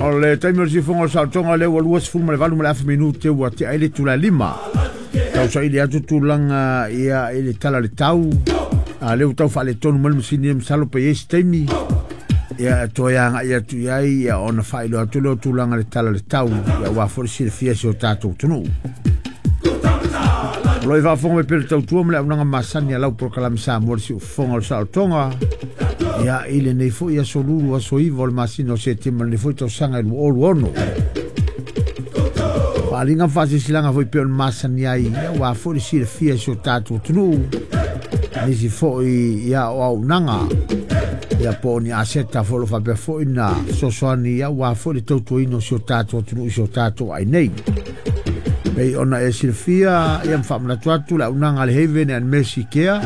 O le taimi o le siufofoga o le saolotoga lea ua 28 ma le afa minute ua tea ai le itula e 5. Tausaili atu tulaga ia i le tala o le tau. A lea ua tau faaletonu mai le masini ia masalo pe i ai se taimi ia e toe agai atu i ai ia ona faailoa atu lea o tulaga i le tala o le tau ia aua foi le silafia e si o tatou atunuu. O lo o i faafofoga mai pea le tautua ma le auaunaga masani a lau polokalame Samoa le siufofoga o le saolotoga ia i lenei foi aso Lulu aso 9 o le masina o Setema lenei foi tausaga e 2026. Faaaliga ma faasilasilaga foi pei ona masani ai aua foi le silafia e si o tatou atunuu nisi foi ia o auaunaga ia po o ni aseta foi o lo o faapea foi na fesoasoani aua foi le tautuaina o si o tatou atunuu i si o tatou ai nei. Pei ona e silafia ia ma faamanatu atu le auaunaga a le Haven and Mercy Care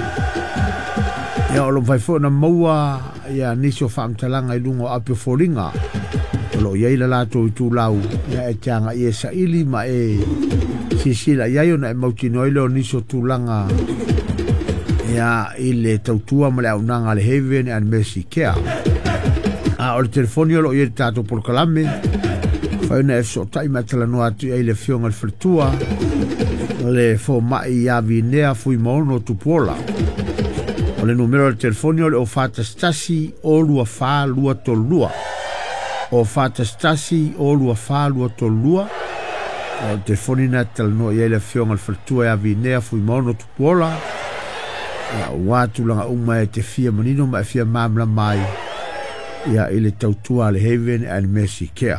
ia o lo o mafai foi ona maua ia nisi o faamatalaga i luga o api o foliga o lo o i ai le latou itulau ia e te agai e saili ma e silasila i ai ona e mautinoa ai lea o nisi o tulaga ia i le tautua ma le auaunaga a le Haven and Mercy Care. A o le telefoni o lo o i ai le tatou polokalame, fai ona e fesootai ma e talanoa atu i ai le afioga i le faletua, le fomai ia Vinea Fuimaono Tupuola. O le numera o le telefoni o le 041 024 232. 041 024 232. O le telefoni na e talanoa i ai le afioga i le faletua ia Vinea Fuimaono Tupuola. Ia, aua tulaga uma e te fia manino ma e fia malamalama ai ia i le tautua a le Haven and Mercy Care.